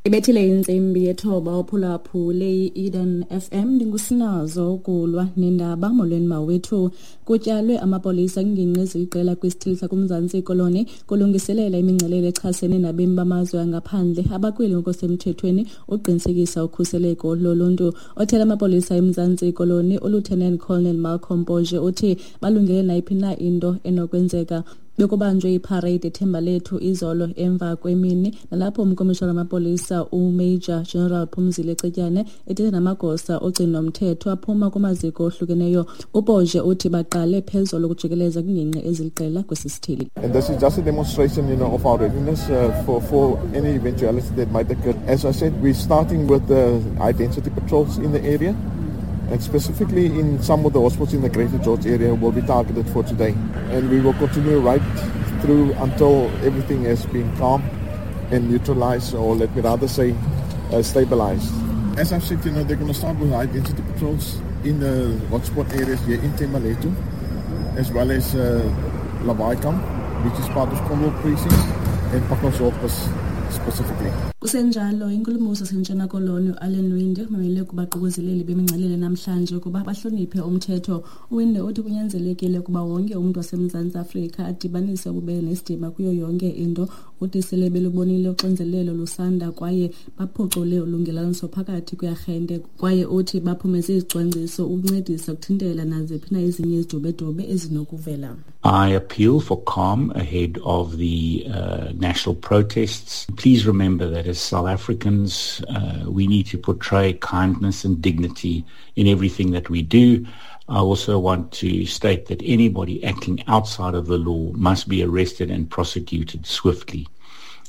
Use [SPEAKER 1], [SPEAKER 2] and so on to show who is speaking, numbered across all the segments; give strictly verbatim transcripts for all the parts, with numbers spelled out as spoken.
[SPEAKER 1] Ibethile intsimbi yethoba uphulaphule i-Eden F M. Ndingusinazo ukulwa nendaba. Molweni mawethu. Kutyalwe amapolisa kwingingqi eziliqela kwisithili sakuMzantsi Koloni kulungiselela imingcelele echasene nabemi bamazwe angaphandle abakweli ngokusemthethweni uqinisekisa ukhuseleko loluntu. Othela amapolisa eMzantsi Koloni uLieutenant Colonel Malcolm Poje uthi balungele nayiphi na into enokwenzeka. Bekubanjwe iparade eThembalethu izolo emva kwemini nalapho umkomishana wamapolisa uMajor General Phumzile Cetyane ethethe namagosa ogcinomthetho aphuma kumaziko ohlukeneyo. UPoje uthi baqale phezolo ukujikeleza kwingingqi eziliqela kwesi sithili.
[SPEAKER 2] And this is just a demonstration, you know, of our readiness uh, for, for any eventuality that might occur. As I said, we're starting with the high-density patrols in the area, and specifically in some of the hospitals in the Greater George area will be targeted for today. And we will continue right through until everything has been calm and neutralized, or let me rather say, uh, stabilized. As I've said, you know, they're going to start with high-density patrols in the hotspot areas here in Thembalethu, as well as uh, Lawaaikamp, which is part of Cornwall Precinct, and Pacaltsdorp specifically.
[SPEAKER 1] Kusenjalo, inkulumbuso yaseNtshona Koloni uAllan Winde umemele kubaququzeleli bemingcelele namhlanje ukuba bahloniphe umthetho. UWinde uthi kunyanzelekile ukuba wonke umntu waseMzantsi Afrika adibanise ububele nesidima kuyo yonke into. Uthi sele belubonile uxinzelelo lusanda kwaye baphucule ulungelelaniso phakathi kwearhente, kwaye uthi baphumeze izicwangciso ukuncedisa ukuthintela naziphi na ezinye izidubedube ezinokuvela.
[SPEAKER 3] I appeal for calm ahead of the uh, national protests. Please remember that as South Africans, uh, we need to portray kindness and dignity in everything that we do. I also want to state that anybody acting outside of the law must be arrested and prosecuted swiftly.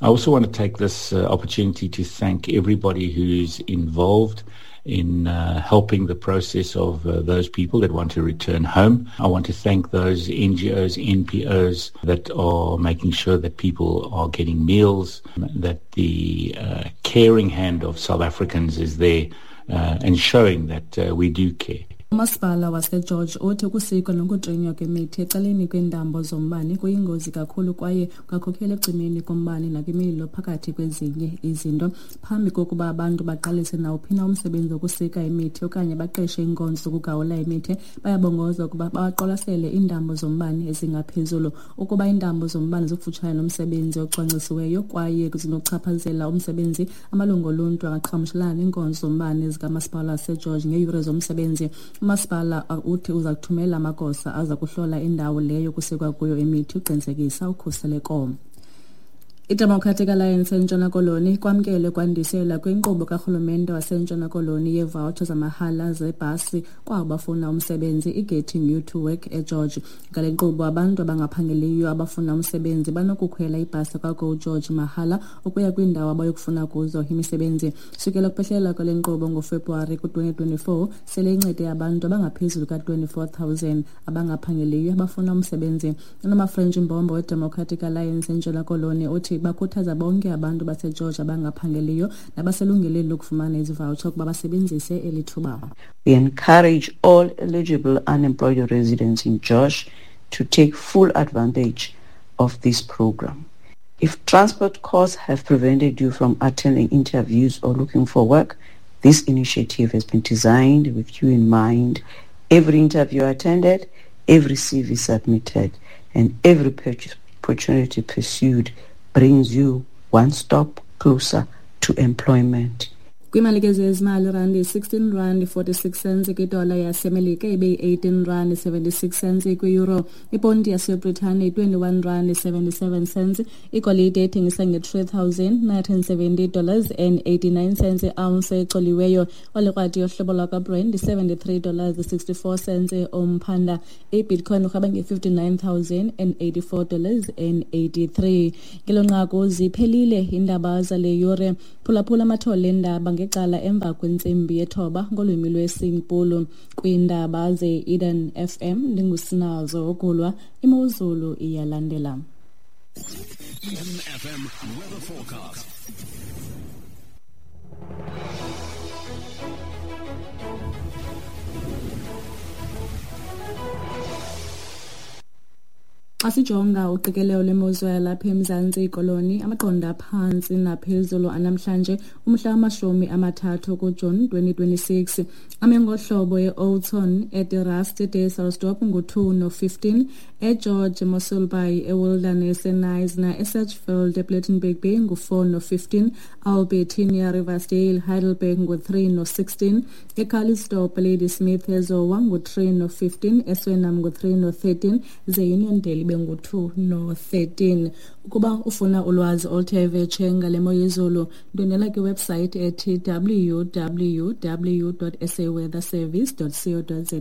[SPEAKER 3] I also want to take this uh, opportunity to thank everybody who's involved in uh, helping the process of uh, those people that want to return home. I want to thank those N G Os, N P Os that are making sure that people are getting meals, that the uh, caring hand of South Africans is there uh, and showing that uh, we do care.
[SPEAKER 1] Umasipala waseGeorge uthi ukusikwa nokutrinywa kwemithi ecaleni kweentambo zombane kuyingozi kakhulu kwaye kungakhokelela ekucimeni kombane nakwimililo phakathi kwezinye izinto. Phambi kokuba abantu baqalise nawuphi na umsebenzi wokusika imithi okanye baqeshe iinkonzo zokugawula imithi, bayabongozwa ukuba baqwalasele iintambo zombane ezingaphezulu. Ukuba iintambo zombane zikufutshane nomsebenzi ocwangcisiweyo kwaye zinokuchaphazela umsebenzi, amalungu oluntu angaqhagamshelana neenkonzo zombane zikamasipala waseGeorge ngeeyure zomsebenzi. Umasipala uthi uza kuthumela amagosa aza kuhlola indawo leyo kusikwa kuyo imithi uqinisekisa ukhuseleko. I-Democratic Alliance eNtshona Koloni kwamkele kwandiselwa kwinkqubo karhulumente waseNtshona Koloni yeevoucher zamahala zebhasi kwabo bafuna umsebenzi i-Getting You to Work eGeorge. Ngale nkqubo, abantu abangaphangeliyo abafuna umsebenzi banokukhwela ibhasi kwaGo George mahala ukuya kwiindawo abayokufuna kuzo imisebenzi. Sukela kuphehlela kwale nkqubo ngoFebruwari ku-twenty twenty-four, sele incede abantu abangaphezulu ka-twenty-four thousand abangaphangeliyo abafuna umsebenzi. UNomafrench Mbombo weDemocratic Alliance eNtshona Koloni uthi bakhuthaza bonke abantu baseGeorge abangaphangeliyo nabaselungelweni lokufumana ezi voucher ukuba basebenzise eli thuba.
[SPEAKER 4] We encourage all eligible unemployed residents in George to take full advantage of this program. If transport costs have prevented you from attending interviews or looking for work, this initiative has been designed with you in mind. Every interview attended, every C V submitted, and every purchase opportunity pursued brings you one step closer to employment.
[SPEAKER 1] Kwimali ke zezimali, randi sixteen rand forty-six cents kwidola yaseMelika, ibe yi-eighteen rand seventy-six cents kwi-euro. Iponti yaseBritane twenty-one rand seventy-seven cents. Igolide ethengisa nge-three thousand nine hundred seventy dollars and eighty-nine cents i-ounce ecoliweyo. Olikrwati yohlobo lwakwaBrent seventy-three dollars sixty-four cents umphanda. I-Bitcoin urhaba nge-fifty-nine thousand and eighty-four dollars and eighty-three. Ngelo nqaku ziphelile iindaba zale yure. Phulaphula amathole endaba ngecala emva kwentsimbi yethoba ngolwimi lwesiNgpulu. Kwiindaba ze-Eden F M ndingusinazo ukulwa, imozulu iyalandela.
[SPEAKER 5] Eden F M weather forecast.
[SPEAKER 1] Xa sijonga uqikelelo lwemozulu yalapha eMzantsi Koloni, amaqondo aphantsi naphezulu anamhlanje umhla wamashumi amathathu kuJuni twenty twenty-six ame ngohlobo: e-Oudtshoorn, eDe Rust, eDysselsdorp ngu-two no-fifteen, eGeorge, Mossel Bay, eWilderness, eKnysna, eSedgefield, ePlettenberg Bay ngu-four no-fifteen, Albertinia, Riversdale, Heidelberg ngu-three no-sixteen, eCalitzdorp, Ladysmith, eZowa ngu-three no-fifteen, eSwellnum ngu-three no-thirteen, ze Uniondale ibe ngu-two no-thirteen. Ukuba ufuna ulwazi oluthe vetshe ngale mo yezulu, ndwendwela kwiwebsayithi ethi W W W dot saweatherservice dot co dot za.